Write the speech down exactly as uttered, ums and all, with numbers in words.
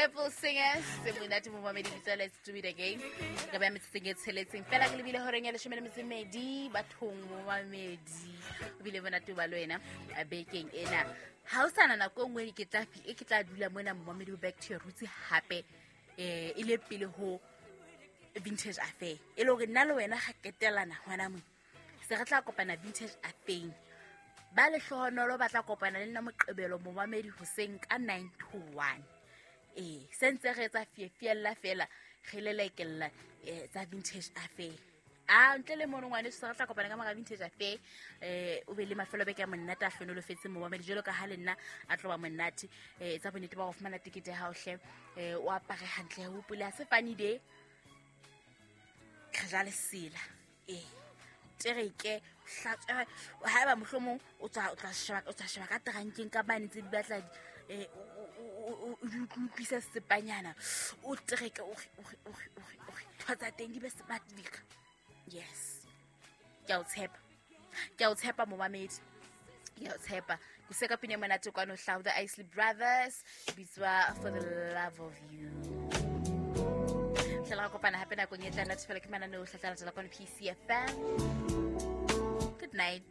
Temple Singers se monate momamedi bitsa Let's Do It Again. Ka ba metsotsong e tsheletseng fela ke lebile horeng ya leshome le metso e mmedi bathong momamedi. O bile monate ba le wena eh, bekeng ena. Ha o sana nako e nngwe ke tla fi- e ke tla dula mona momamedi ho Back to Your Roots hape eh e le pele ho Vintage Affair. E le hore nna le wena ga ketelana hona mo. Se re tla kopana Vintage Affair. Ba lehlohonolo ba tla kopana le nna Moqebelo momamedi hoseng ka nine to one. Ee, se ntse re etsa fiefiella fela re lelekella eh, tsa Vintage Affair. A ntle le mono ngwaneso se re tla kopana ka mora Vintage Affair. eh o be le mafelo a beke a monate a hlonolofetseng momamedi jwalo ka ha le nna a tlo ba monate. eh etsa bonnete ba go fumana tekete ya hao hle, eh o apare hantle, o hopole ha se funny day, re ja lesela. Ee, tereke hlatswe haeba mohlomong o tswa o tla sheba o tla sheba ka terankeng ka mane tse di batla eh o o di utlwisa sepanyana o tereke o o o o ntho tsa teng di be smart dika. Yes, ke a o tshepa, ke a o tshepa momamedi, ke a o tshepa. Ke se ka pina e monate kwano hlau the Isley Brothers bitswa For the Love of You. Hlela ra kopana hape nakong e tlang natefela ke mananeo hlatla latela kwano P C F M. Good night.